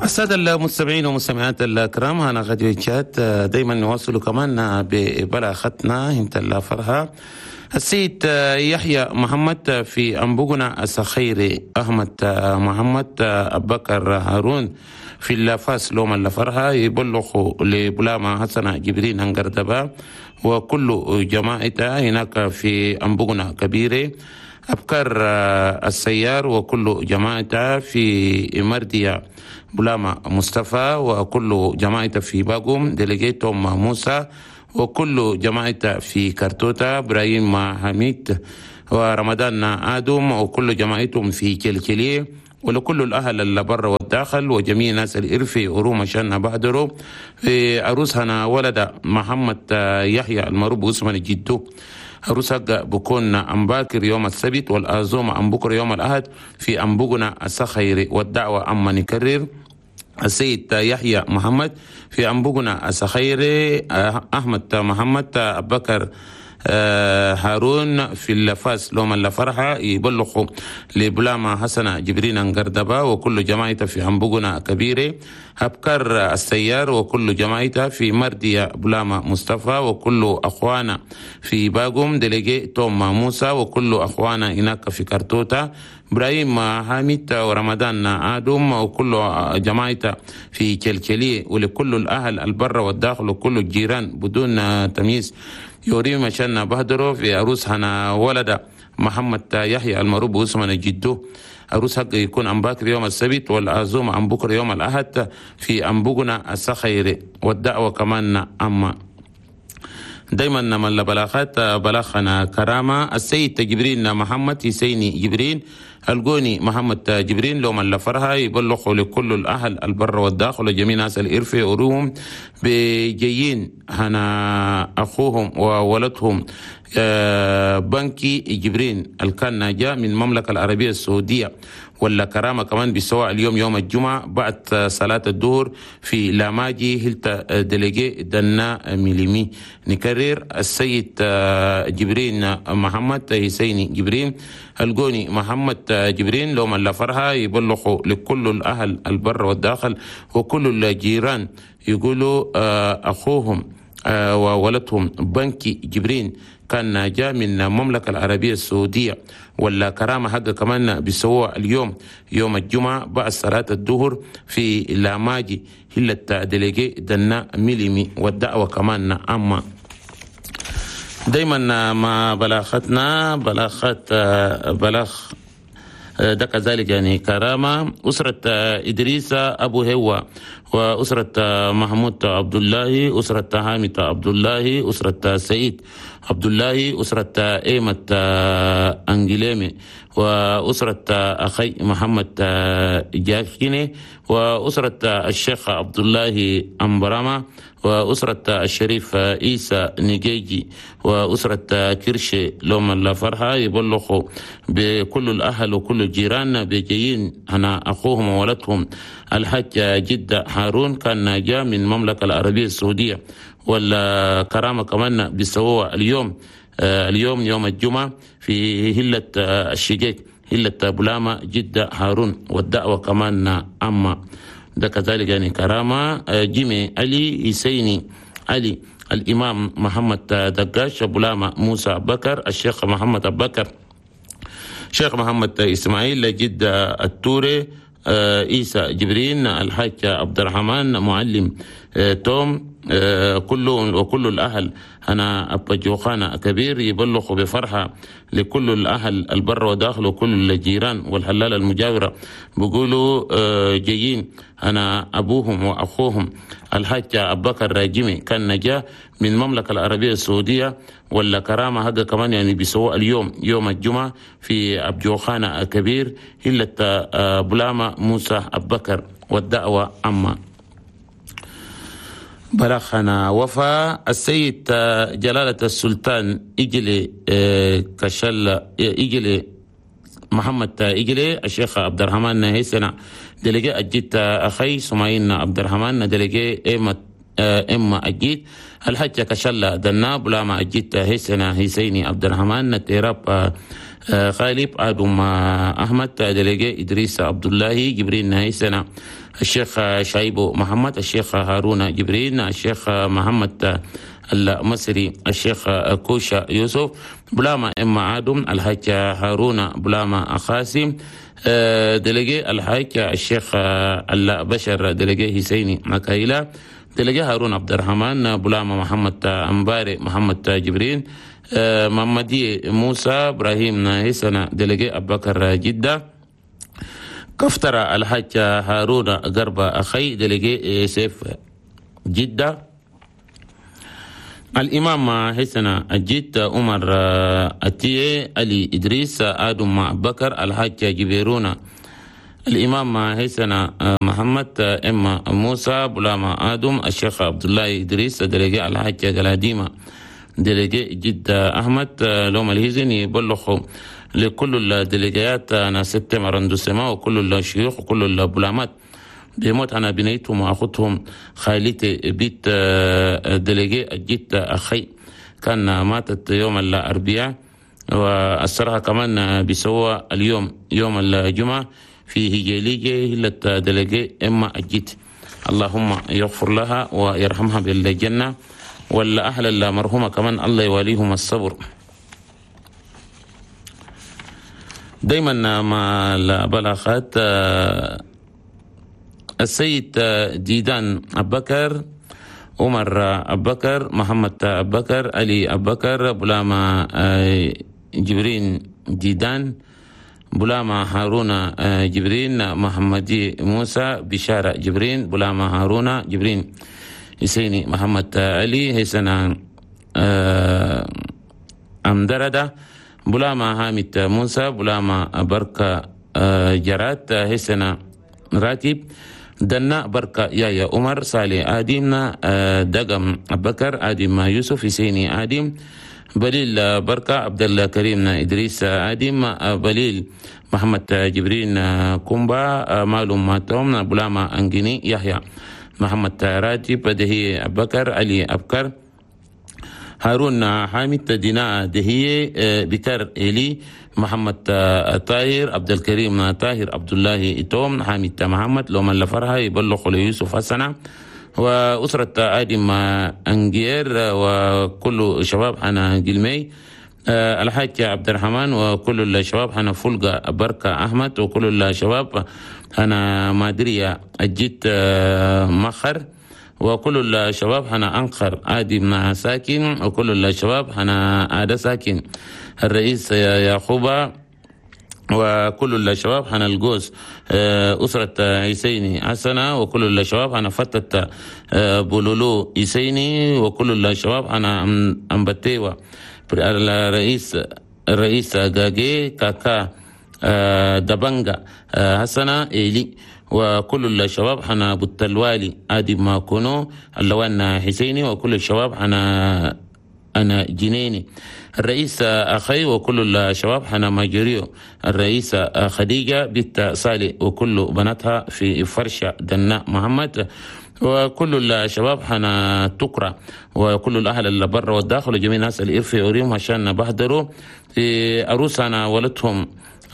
السادة المستمعين والمستمعات الكرام، أنا غادي تشات دايما نواصل كمان ببلاغتنا انت الفرحة. السيد يحيى محمد في أنبوغنا السخيري، أحمد محمد أبكر هارون في اللافاس لوم الفرحة يبلغ لبلاما حسن جبرين هنقردبا وكل جماعته هناك في أنبوغنا كبيرة، أبكر السيار وكل جماعته في مردية بلاما مصطفى وكل جماعته في باقوم، ديليجيتوم موسى وكل جماعته في كرتوتا، إبراهيم حميد ورمضان آدم وكل جماعتهم في كلكلية، ولكل الأهل اللي برا والداخل وجميع ناس الإرفي وروما شان بهدروا في عروسنا ولد محمد يحيى المعروف باسم جدو. عروس بكون أم باكر يوم السبت والأزوم أم بكر يوم الأحد في أنبوغنا السخيري، والدعوة أما نكرر السيد يحيى محمد في أنبوغنا السخيري، أحمد محمد أبكر هارون في اللفاس لوم الفرحة يبلغوا لبلاما حسن جبرين انقردبا وكل جماعته في أنبوغنا كبيرة، أبكر السيار وكل جماعته في مردية بلاما مصطفى وكل أخوانا في باقوم، دليجي توم موسى وكل أخوانا هناك في كرتوتا، إبراهيم حامد ورمضان آدم وكل جماعته في كلكلي، ولكل الأهل البر والداخل وكل الجيران بدون تمييز يوري مشان بهدرو في عروس هنا ولد محمد يحيى المعروف باسم جدو. عروس حق يكون أم باكر يوم السبت والعزومة أم بكر يوم الأحد في أنبوغنا السخيري، والدعوة كمان أما دايما من بلاغات بلاغنا كرامة السيد جبرين محمد حسيني جبرين الجوني محمد جبرين لو من لفرها يبلغوا لكل الأهل البر والداخل وجميع ناس الإرفي وروهم بجيين هنا أخوهم وولدهم بنكي جبرين الكان جاء من المملكة العربية السعودية، ولا كرامة كمان بسواء اليوم يوم الجمعة بعد صلاة الظهر في لاماجي هلتا دليجي دنا ميليمي. نكرر السيد جبرين محمد حسيني جبرين الجوني محمد جبرين لو من لفرها يبلغوا لكل الأهل البر والداخل وكل الجيران يقولوا أخوهم وولدهم بنكي جبرين كان جاء من المملكة العربية السعودية، ولا كرامة حق كمان بسوا اليوم يوم الجمعة بعد صلاة الظهر في لاماجي هلة دليجي دنا ميليمي، والدعوة كمان أما دايما مع بلاغتنا بلاغات بلاغ ده كذلك يعني كرامة أسرة إدريس أبو هوا وأسرة محمود عبد الله، أسرة حامد عبد الله، أسرة سعيد عبد الله، أسرة إيمة أنجليمي، وأسرة أخي محمد جاكيني، وأسرة الشيخ عبد الله أمبراما، وأسرة الشريف عيسى نجيجي، وأسرة كرشي لوم الفرحة يبلغوا بكل الأهل وكل الجيران بجيين هنا أخوهم وولدهم الحاج جدة هارون كان جاء من المملكة العربية السعودية، والكرامة كمان بسوا اليوم اليوم يوم الجمعة في هلة الشقيق هلة بلاما جدة هارون، والدعوة كمان أما ده كذلك يعني كرامة جيمي علي حسيني علي الإمام محمد دقاش بلاما موسى بكر الشيخ محمد بكر شيخ محمد إسماعيل جدة التوري عيسى جبرين الحاج عبد الرحمن معلم توم كل وكل الأهل أنا أبا جوخانا كبير يبلغ بفرحة لكل الأهل البر وداخل وكل الجيران والحلال المجاورة بيقولوا جايين أنا أبوهم وأخوهم الحاج أبو بكر راجمي كان نجا من المملكة العربية السعودية، ولا كرامة هذا كمان يعني بيسوى اليوم يوم الجمعة في أبجوخانا كبير هلة بلاما موسى أبو بكر، والدعوة أما بلغنا وفا السيد جلالة السلطان إجلي كشل إجلي محمد إجلي الشيخ عبد الرحمن هيسنا دلقي أجيت أخي سمعين عبد الرحمن دلقي إما أجيت الحجة كشلة دنا بلا ما أجيت هيسنا هيسيني عبد الرحمن تيراب خالب آدم أحمد دلقي إدريس عبد الله جبرين هيسنا الشيخ شايبو محمد الشيخ هارون جبرين الشيخ محمد المصري الشيخ كوشا يوسف بلاما إما آدم الحاج هارون بلاما خاسم دلقي الحاج الشيخ البشر دلقي حسيني مكايلا دلقي هارون عبد الرحمن بلاما محمد أمباري محمد جبرين محمدي موسى إبراهيم هيسنا دلقي أبكر جدة كفتر الحاج هارون قرب أخي دلقي سيف جدة الإمام حسن الجد عمر أتيه علي إدريس آدم بكر الحاج جبيرونا الإمام حسن محمد إما موسى بلاما آدم الشيخ عبد الله إدريس دلقي الحاج قلاديمة دلقي جد أحمد لوم الهزن يبلغ لكل الدلقيات أنا ستة مرندوسما وكل الشيوخ وكل البلامات بموت أنا بنيتهم وأخوتهم خالتي بيت دلقي الجد أخي كان ماتت يوم الأربعاء وأسرها كمان بيسوى اليوم يوم الجمعة في هجليجة هلة دلقي إما الجد اللهم يغفر لها ويرحمها بالجنة ولا أهل المرحومة كمان الله يواليهم الصبر. دايما مع البلاغات السيد ديدان أبكر عمر أبكر محمد أبكر علي أبكر بلاما جبرين ديدان بلاما هارون جبرين محمدي موسى بشارة جبرين بلاما هارون جبرين حسيني محمد علي حسن أمدردة بلاما حامد موسى بلاما بركة جرات حسن راتب دنا بركة يا عمر صالح آدمنا دقم بكر آدم يوسف حسيني آدم بليل بركة عبد الله كريم إدريس آدم بليل محمد جبرين كومبا مالوم توم بلاما أنجيني يحيى محمد راتب دهي بكر علي أبكر هارون حامد دينا دهي بكر إلي محمد طاهر عبد الكريم طاهر عبد الله توم حامد محمد لوم الفرحة يبلغ ليوسف حسنة وأسرة آدم أنجير وكل شباب حنا جلمي الحاج عبد الرحمن وكل الشباب حنا فلقة بركة أحمد وكل الشباب حنا مادرية الجد مخر وكل الشباب حنا أنقر آدم ساكن وكل الشباب حنا آد ساكن الرئيس يعقوب وكل الشباب حنا الجوز أسرة عيسيني حسنة وكل الشباب حنا فتة بولولو عيسيني وكل الشباب حنا أمبتيوة الرئيس غاجي كاكا دبنجا حسنة إيلي وكل الشباب حنا بوتلوالي آدم ماكونو اللوان حسيني وكل الشباب حنا أنا جنيني الرئيس أخي وكل الشباب حنا ماجريو الرئيس خديجة بنت صالح وكل بناتها في فرشة دناء محمد وكل الشباب حنا تقرأ وكل الأهل اللي برا والداخل وجميع الناس اللي في أوريهم عشان بحضروا في أروسنا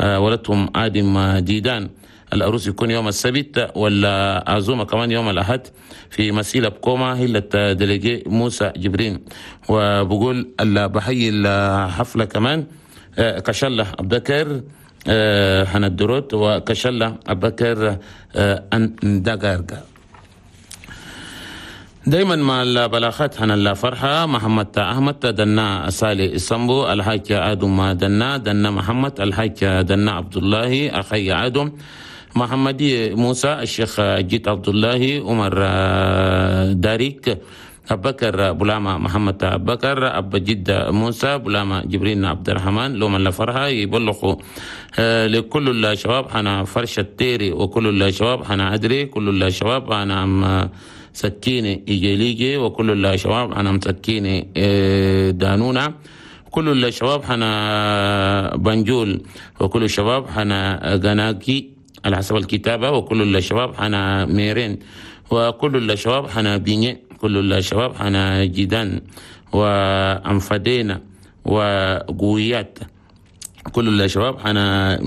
ولدهم آدم ديدان. الأروس يكون يوم السبت والعزومة كمان يوم الأحد في مسيلة بكوما هلة دليجي موسى جبرين. وبقول بحيي الحفلة كمان كشلة أبكر حنا الدروت وكشلة أبكر أندقارقا. دايما مع البلاغات حنا الفرحة محمد أحمد دنا صالح السمبو الحاج آدم دنا دنا محمد الحاج دنا عبد الله أخي آدم محمدي موسى الشيخ جيت عبد الله عمر داريك أبكر بلاما محمد أبكر أب جد موسى بلاما جبرين عبد الرحمن لوم الفرحة يبلغوا لكل الشباب حنا فرشة تيري وكل الشباب حنا أدري كل الشباب حنا أم سكينة إيجيليجي وكل الشباب حنا مسكينة دانونا كل الشباب حنا بنجول وكل الشباب حنا غناكي على حسب الكتابة وكل الشباب حنا ميرين وكل الشباب حنا بيني كل الشباب حنا جدان وأنفدينا وقويات كل الشباب أنا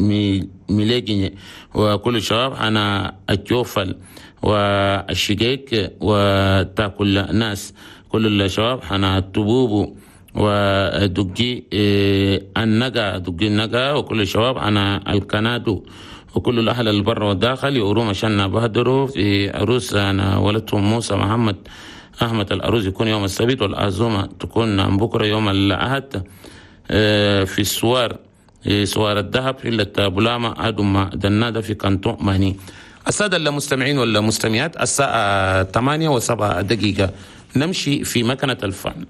ميليجي، وكل الشباب أنا الجوفل والشقيق وتاكل ناس، كل الشباب أنا تبوبو ودقي النقا، دقي النقا، وكل الشباب أنا الكنادو، وكل الأهل البر والداخل يقولوا عشان بهدروا في عروس أنا ولدتهم موسى محمد أحمد. العروس يكون يوم السبت والعزومة تكون بكرة يوم الأحد في السوار، سوار الذهب في بولاما أدوما دنادة في كانتون ماني. السادة المستمعين والمستمعات، الساعة 8:07، نمشي في مكنة الفن.